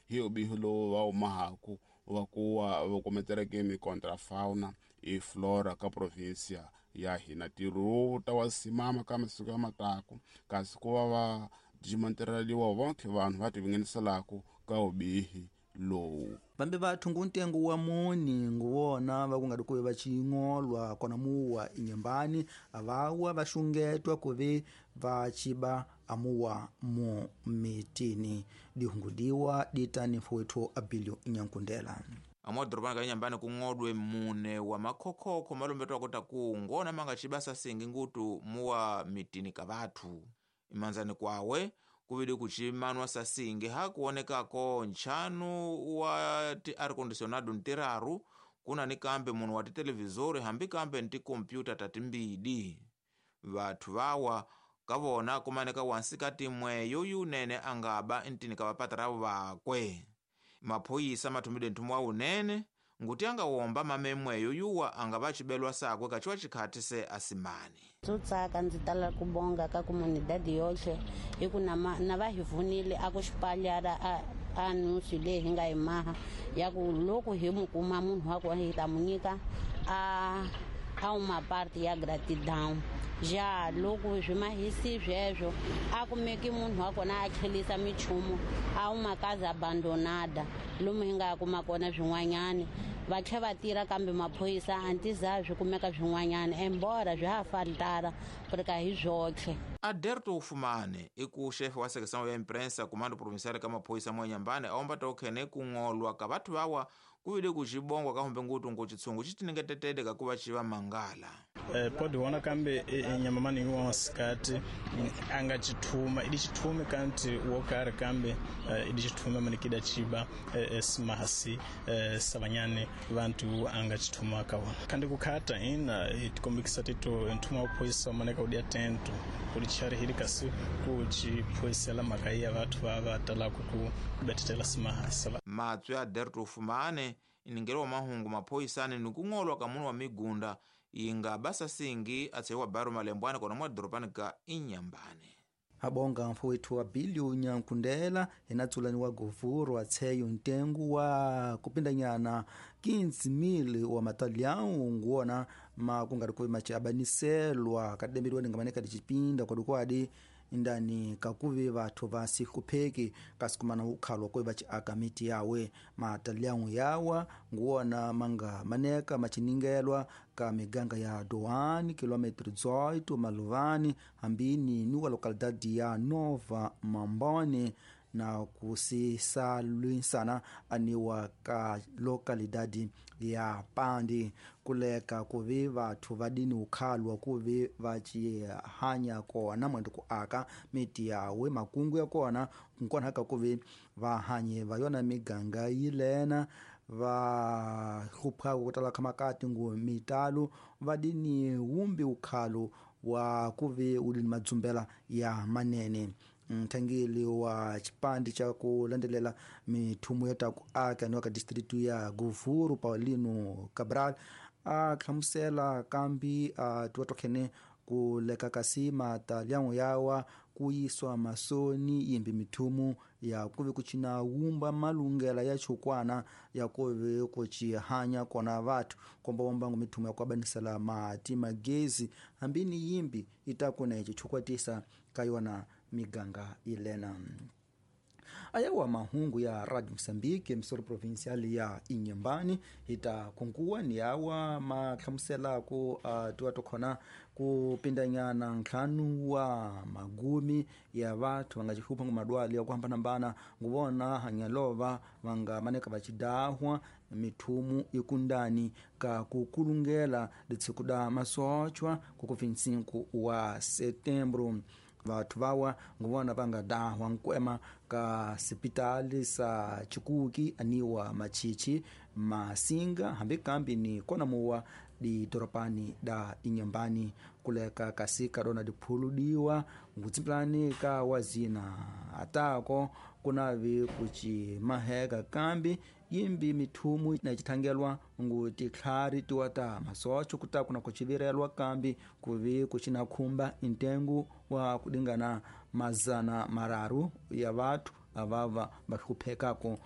Hi ubihi lowu va wumahaku wa kuwa va kometeleke mikontrafauna e flora ka provinsia ya hina. Ntirho lowu ta wa simama ka masiku ya mataku, kasi ku va va dimantereliwa vonke vanhu va tivingeniselaka ka ubihi lowu. Vambe vathu ngu ntengo wa muni nguwona va ku nga ri kuve va cingolwa kona muwa inyembani avawa va xungetwa kuve va ciba amuwa mu mitini dihungudiwa ditani mfowethu Abilio Nyankundela. Amwadorobani ka Inyambani kung'odwe mune wa makhokhokho malombetwa kota ku ngona manga cibasa singi ngutu muwa mitini ka vathu. Imanzani kwawe kuvidi kucimanwa sasingi hakuonekako nchanu wa ti ar-condicionado ntiraru, kuna ni kambe munu wa titelevizori hambi kambe nti kompyuta tatimbidi. Vathu vawa kavona kumaneka wansi timwe yoyu unene angaba ntini ka vapataravo vakwe. Maphoyisa mathumide nthumu wa unene nguti angawomba mamemweyo yuwa angava cibelwa sakwe kaciwa cikhati se asimani. Tsutsaka ndzi tala ku bonga ka comunidade yoxe hi ku na va hi vunile a ku xipalyara a nusu leyi hi nga yi maha ya ku loko hi mu kuma munhu wa kona hi ta mu nyika a uma parte ya gratidão. Ja loko swi mahisi sweswo a kumeki munhu wa kona a tlhelisa michumu a uma casa abandonada lomu hi nga kuma kona swin'wanyani va tlhe va tirha kambe maphorisa a ntiza swi kumeka swin'wanyana embora swi ha faltara porque hi swotlhe. Aderto Ufumane iku chefe wa secção ya imprensa comando provincial ka maphoyisa mwa Inhambane aomba tokhene kung'olwa ka vathu vawa kuvile kucibongwa kahumbe ngutu ngu chitsungu citiningetetede kakuva civa mangala. Pode wona kambe nyama mani wa sikati anga chithuma idi chithume kanti wokari kambe idi chithume manikida chiba simahasi savanyane vantu anga chithuma kawona kandi kukhata ina itikombikisa tito nthuma uphoyisa maneka udi atento kuli chari hili kasi kuchiphoyisela mhaka ya vathu va va talaku ku betetela simahasi. Matswi ya Derto Ufumane iningelo wa mahungu maphoyisani ni kung'olwa ka munu wa migunda inga basa singi atseiwa baru malembwana kona mwa doropani ka Inhambane. Abonga mfowethu wa Bilio Nyankundela hina tsulani wa govuro atsheyo ntengo wa kupindanyana 15,000 wa matalhão nguwona makungari kuve maciabaniselwa kadembiliwa ningamaneka dicipinda kwadikwadi indani kakuve vathu va sihlupheki kasi kumana ukhalwa kuve vaciaka miti yawe. Matalhão yawa nguwona manga maneka maciningelwa ka miganga ya Doane, quilômetro 18, Maluvani, hambini ni wa localidade ya Nova Mambone na kusisalwisana aniwa ka localidade ya Pandi. Kuleka kuve vathu vadini ukhalwa kuve vacihanya kona mwendo ku aka miti yawe makungu ya kona nkona ka kuve vahanye va yona miganga yilena va hluphaka kutala khamakati ngu mitalu vadini wumbi ukhalo wa kuve udini madzumbela ya manene. Nthangeli wa chipandi cha kulandelela mithumu ya taku aka niwa ka distritu ya Govuro Paulino Cabral a hlamusela kambi a tiwa tokhene kuleka kasi matalhão yawa kuyiswa masoni yimbi mithumu ya kuve kucina wumba malungela ya chukwana ya kuve kucihanya kona vathu kombawombango mithumu ya kuabanisela mati magezi hambini yimbi itakuna ici chukwatisa ka yona miganga ilena. Ayawa mahungu ya Radio Mozambique msoro provincial ya Inhambane ita kunkuwa ni awa mahlamuselako tiwa tokhona kupindanyana ntlhanu wa magumi ya vathu vanga cihlupha ngu madwali ya kuhambanahambana nguvona hanyalova vanga maneka vacidahwa mithumu ikundani ka kukulungela litshiku da masochwa kuku 25 wa setembro. Vathu vawa nguvona vanga dahwa nkwema ka sipitali sa chikuki aniwa machichi masinga hambi kambi ni kona muwa didoropani da Inhambane kuleka kasi kadona diphuludiwa ngutsimpilani ka wazina atako kunavi kucimaheka kambi yimbi mithumu na cithangelwa ngu titlhari tiwa ta masocho kutaku na kucivirelwa kambi kuvi kucina khumba intengo wa kudingana 300 ya vathu avava vahluphekako.